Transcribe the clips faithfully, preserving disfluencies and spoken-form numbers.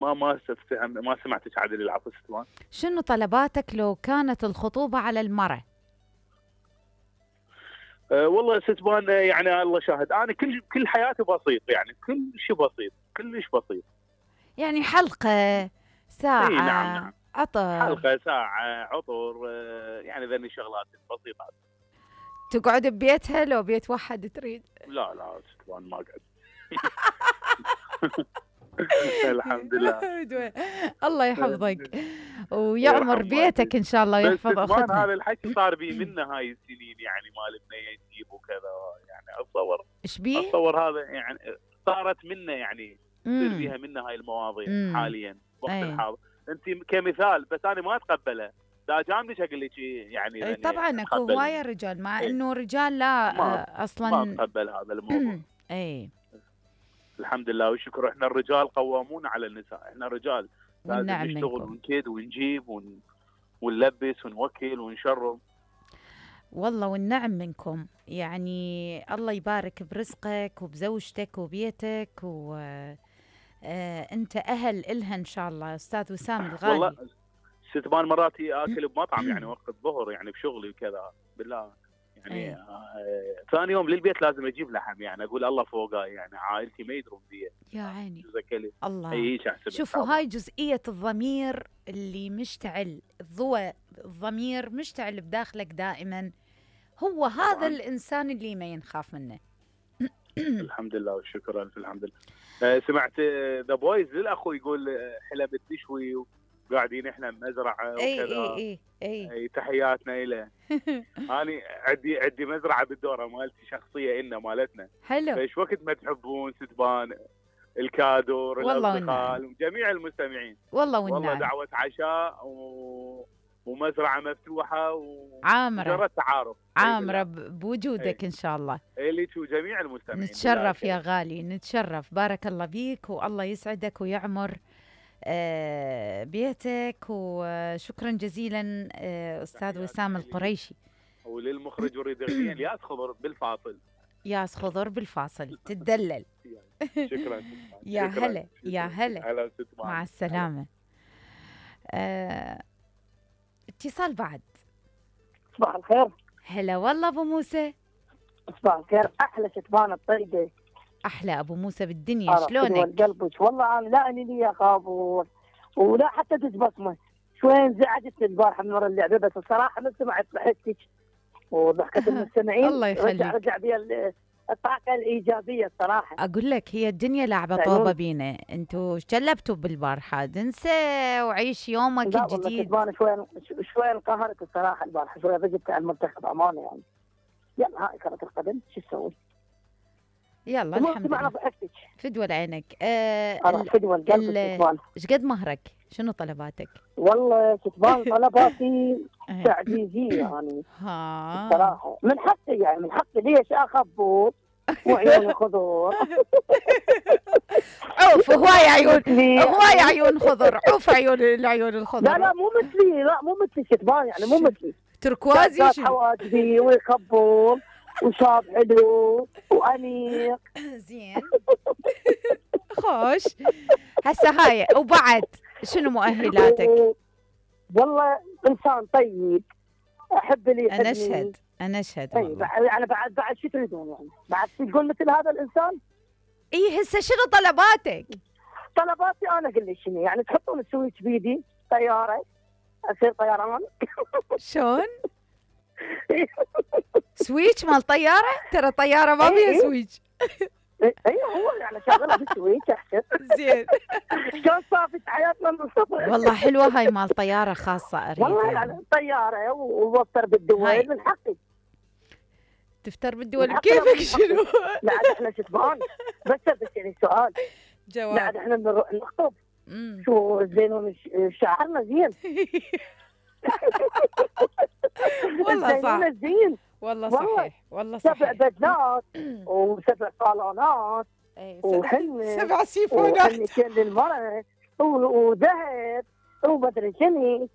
ما ما استفهم ما سمعتك عدل العفو ستوان. شنو طلباتك لو كانت الخطوبة على المرة؟ أه والله ستوان يعني الله شاهد انا كل كل حياتي بسيط، يعني كل شيء بسيط كلش بسيط. يعني حلقة، ساعة، اي نعم نعم، عطر، حلقة، ساعة، عطر، أه يعني ذني الشغلات البسيطات. تقعد ببيتها لو بيت واحد تريد؟ لا لا ستوان ما اقعد. الحمد لله. الله يحفظك ويعمر بيتك ان شاء الله ويحفظ اختنا. هذا الحكي صار بي منه هاي السنين، يعني مال بنيه نجيب وكذا، يعني اتصور ايش بيه؟ اتصور هذا يعني صارت منه، يعني تصير بيها منه هاي المواضيع مم. حاليا وقت أي. الحاضر. انت كمثال بس انا ما اتقبله، دا جامدش اقول لك يعني أي طبعا اكو هوايه رجال، مع انه رجال لا ما اصلا ما اتقبل هذا الموضوع. اي الحمد لله والشكر، احنا الرجال قوامون على النساء، احنا رجال لازم نشتغل ونكيد ونجيب ون... ونلبس ونوكل ونشرب. والله والنعم منكم، يعني الله يبارك برزقك وبزوجتك وبيتك، و آه انت اهل الها ان شاء الله استاذ وسام الغالي. والله ستبان مراتي اكل بمطعم يعني وقت الظهر يعني بشغلي وكذا بالله، يعني آه ثاني يوم للبيت لازم اجيب لحم، يعني اقول الله فوقاي، يعني عائلتي ما يدرون بي يا عيني الله. اي شوفوا هاي جزئيه الضمير اللي مشتعل، الضوء الضمير مشتعل بداخلك دائما، هو هذا طبعاً. الانسان اللي ما ينخاف منه. الحمد لله والشكر الف الحمد لله. آه سمعت ذا بويز للاخو يقول حلب التشوي وقاعدين احنا بمزرعه وكذا. اي اي اي اي, أي تحياتنا له. انا عندي عندي مزرعه بالدوره مالتي شخصيه إلنا مالتنا. حلو. فايش وقت ما تحبون ستبان الكادور الاصدقاء جميع المستمعين، والله والنعم والله دعوه عشاء و... ومزرعه مفتوحه وعامره ومجرد تعارف عامره بوجودك. ايه. ان شاء الله اليك وجميع المستمعين. نتشرف يا غالي، نتشرف. بارك الله بيك والله يسعدك ويعمر آه بيتك، وشكرا جزيلا آه استاذ وسام القريشي. وللمخرج اريد اغنيه ياس خضر بالفاصل. ياس خضر بالفاصل تدلل. شكرا يا هلا يا هلا مع السلامه. آه اتصال بعد. صباح الخير. هلا والله ابو موسى. صباح الخير. احلى شتبان الطيبه. احلى ابو موسى بالدنيا، شلونك؟ والقلبك والله انا لا اني لي خابور ولا حتى تتبصمه. شوي انزعجت البارحه من ورا اللعبه، بس الصراحه من سمعت ضحكتك وضحكه المستمعين. الله يخليك. رجع رجع بي الطاقه الايجابيه الصراحه. اقول لك هي الدنيا لعبه طوبه بينا، انتوا شلبتوا بالبارحه، انسى وعيش يومك لا الجديد. لا والله شوي شوي انقهرت الصراحه البارحه، شوي ضجبت على المنتخب امانه يعني. يلا هاي كره القدم شو تسوي؟ يلا الحمد لله. ضحكتك فدوى عينك. آه فدوى القلب. ايش قد مهرك؟ شنو طلباتك؟ والله كتبان طلباتي تعجيزيه يعني. ها صراحه من حقي يعني من حقي ليش اخبط وعيوني خضر. عوف هواي عيون هواي عيون خضر، عوف عيون العيون الخضر. لا لا مو مثلي، لا مو مثلي كتبان يعني مو مثلي. تركوازي شو؟ حواجبي ويخبط وشاب حلو وانيق. زين. خوش. هسه هاي وبعد شنو مؤهلاتك؟ والله انسان طيب، احب اللي يحبني. انا اشهد انا اشهد والله. يعني بعد بعد شو تريدون يعني؟ بعد تقول مثل هذا الانسان؟ اي هسه شنو طلباتك؟ طلباتي انا اقول لك شنو يعني، تحطون السويتش بيدي طياره اصير طيران. شلون؟ سويتش مال طياره؟ ترى طياره ما فيها سويتش. ايوه هو يعني شغله بالسويتش احسن. زين. شلون صافت حياتنا من الصفر. والله حلوه هاي مال طياره خاصه اريد. والله يعني طياره ووفر بالدول من حقي. تفتر بالدول كيفك شنو؟ لا عاد احنا شتبان بس بس يعني سؤال. جواب. لا عاد احنا نخطب. شو زين شعرنا زين. والله صح. زين. والله صحيح والله صحيح. سبع بدلات وسبع صالونات وحنة سبع سيفونات وحنتين للمرأة وذهب ومدري شنو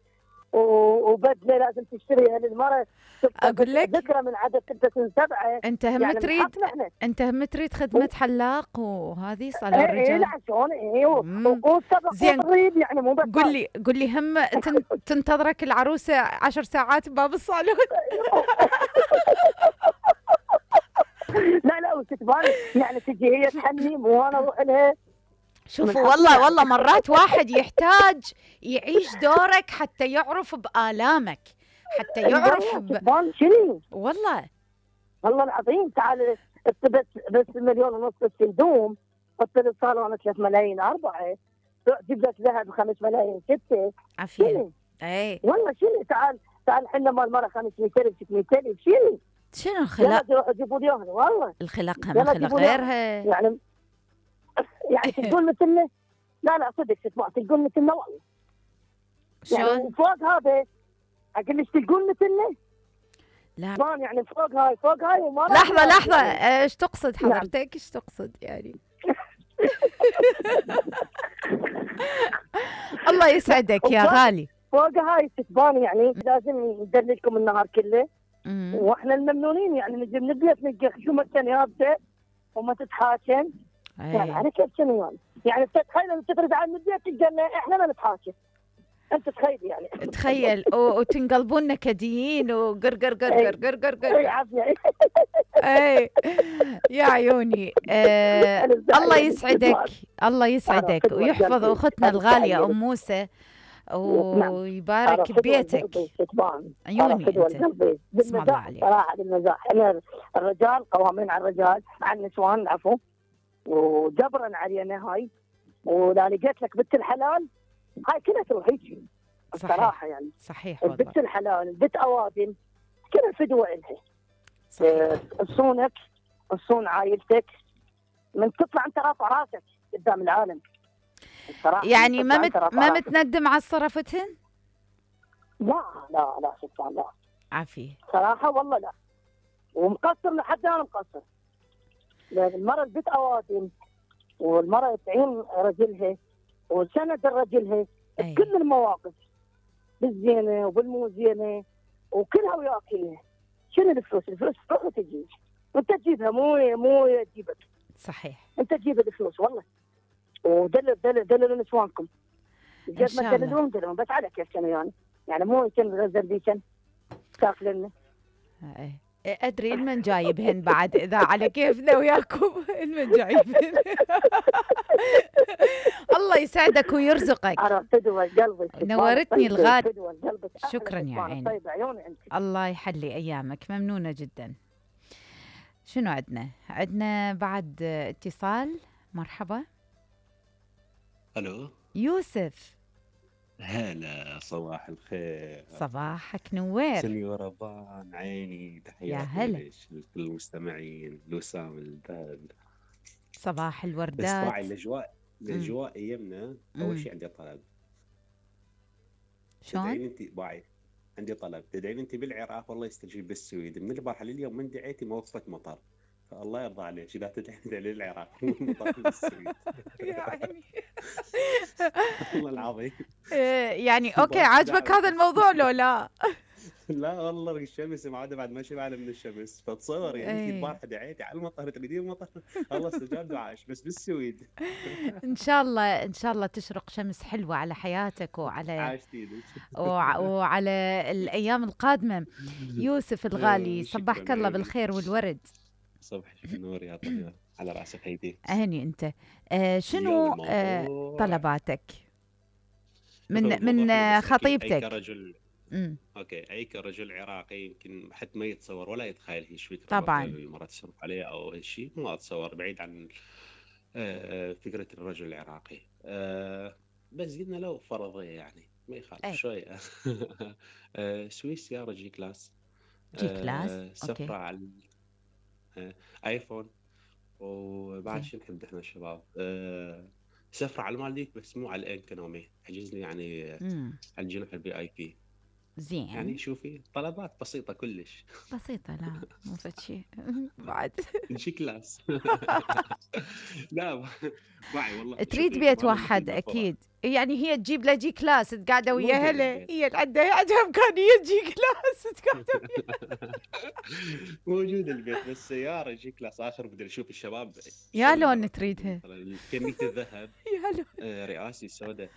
و- وبدله لازم تشتريها للمراه تبقى اقول لك ذكرى من عدد ستة سبعة. انت هم يعني من تريد حقنا احنا. انت هم تريد خدمة حلاق وهذه صالون ايه ايه الرجال. لا شلون ايه و- امم وسبق زين، والريب يعني مو بس قل لي قل لي هم تن... تنتظرك العروسة عشر ساعات بباب الصالون؟ لا لا وتتبان يعني تجي هي تحني وانا اروح لها. شوفوا من والله حقي والله مرات واحد يحتاج يعيش دورك حتى يعرف بآلامك، حتى يعرف والله ب... تتبان شنو والله والله العظيم. تعال انت بس بس مليون ونص الهدوم، حط لي الصالون ثلاث ملايين أربعة، جيب لك ذهب خمس ملايين ستة. عافية. شنو اي والله شنو. تعال تعال حنا مال مرة خمسمية ألف ستمية ألف شنو. شنو يلا الخلاق؟ روحوا جيبوا لي اياها والله. الخلاق هم يلا خلق جيبوا لي إياها. غيرها. يعني يعني تقول مثلنا. لا لا صدق تسمع تقول مثلنا والله. يعني شلون؟ وفوق هذا اقول لك تقول مثلنا. لا مان يعني فوق هاي فوق هاي وما لحظة لحظة، يعني. ايش تقصد نعم. حضرتك؟ ايش تقصد يعني؟ الله يسعدك يا وفوق- غالي. فوق هاي تتبان يعني لازم ندللكم النهار كله. أمم. واحنا الممنونين يعني نجي من البيت نلقى خشومه كان يابسه وما تتحاكم. يعني اي على كيف شنو يعني؟ يعني انت تخيل انت ترد عن البيت تلقى إن احنا ما نتحاكم. انت تخيل يعني. تخيل و- وتنقلبون نكديين وقر قر قر قر قر قر اي قر. عافيه. اي يا عيوني. آه الله يسعدك، الله يسعدك ويحفظ اختنا الغالية ام موسى ويبارك ببيتك. عيوني انت. اسم الله عليك. صراحه بالمزاح انا الرجال قوامين على الرجال على النسوان العفو وجبرا علينا هاي. ولا لقيت لك بنت الحلال هاي كلها تروح هيك الصراحه يعني. صحيح والله. البنت الحلال البنت اوادم كلها فدوه الها. صحيح. تصونك تصون عائلتك من تطلع انت رافع راسك قدام العالم الصراحه. يعني ما تطلع مت... أنت رافع ما راسك. متندم على صرفتهن؟ لا لا لا سبحان الله عافية. صراحه والله لا. ومقصر لحد انا مقصر. لان المراه البنت اوادم والمراه تعين رجلها وسند رجلها أي. بكل المواقف بالزينه وبالمو زينه وكلها وياكلها. شنو الفلوس؟ الفلوس تروح وتجي وانت تجيبها مو مو تجيبك. صحيح. انت تجيب الفلوس والله. ودلل دلل دللوا نسوانكم. إن قد شاء ما الله. دللون دللون بس على كيف كانوا يعني. يعني مو يمكن غزل بيكن تاكلن. أي. ادري المن جايبهن بعد اذا على كيفنا وياكم المن جايبهن. الله يسعدك ويرزقك. انا فدوى قلبي. نورتني الغاد. فدوى قلبك. شكرا يا عيني. طيب عيوني انت. الله يحلي ايامك، ممنونة جدا. شنو عندنا؟ عندنا بعد اتصال. مرحبا. الو يوسف. هلا صباح الخير. صباحك نوير. سنيورة بان عيني تحياتي يا هلا. ليش لكل المستمعين لوسام البال. صباح بس الوردات. باعي الاجواء الاجواء ايامنا. مم. اول شيء عندي طلب. شلون؟ تدعين انت باعي عندي طلب تدعين انت بالعراق والله يستجيب بالسويد. من البارحه لليوم من دعيتي ما وصلت مطر فالله يرضى عليك اذا تدعين للعراق مطر بالسويد. يا عيني. والله العظيم. إيه، يعني اوكي عاجبك هذا الموضوع لو لا؟ لا والله الشمس ما عاد بعد ما شبعنا من الشمس فتصور يعني انت إيه. البارحه دعيتي على المطر تريدين المطر الله استجاب دعائش بس بالسويد. ان شاء الله ان شاء الله تشرق شمس حلوه على حياتك وعلى عاشتي وع- وعلى الايام القادمه. يوسف الغالي شكراً صبحك الله عيني. بالخير والورد. صبح النور يا طيبه على راسك هيدي. اهني انت. آه شنو اليوم آه الموضوع طلباتك من الموضوع من حلو آه، بس أكيد أي خطيبتك؟ كرجل امم اوكي اي كرجل عراقي يمكن حد ما يتصور ولا يتخيل هي فكره طبعاً. المراه تصرف عليه او شيء ما اتصور بعيد عن آه، فكره الرجل العراقي. آه، بس قلنا لو فرضيه يعني ما يخالف أي. شويه. آه، سويس سياره جي كلاس. جي كلاس. آه، اوكي. سفره على آه، ايفون وبعد زين. شو نحب احنا الشباب. آه، سفره على المالديف بس مو على الانكونومي حجز لي يعني امم على الجناح البي اي بي. زين. يعني شوفي طلبات بسيطة كلش. بسيطة، لا مو فد شيء بعد. جي كلاس. لا معي والله. تريد شوفي بيت ما أنا واحد مثل ما فرض. اكيد، يعني هي تجيب له جي كلاس تقعده ويا موجود هلا، البيت. هي عندها عندها امكانيه جي كلاس تقعده ويا. موجود البيت بس سيارة جي كلاس آخر. بدي أشوف الشباب يا شلون لون مرتبين. تريدها؟ مثلا كمية الذهب يا لون. آه، رئاسي سوداء.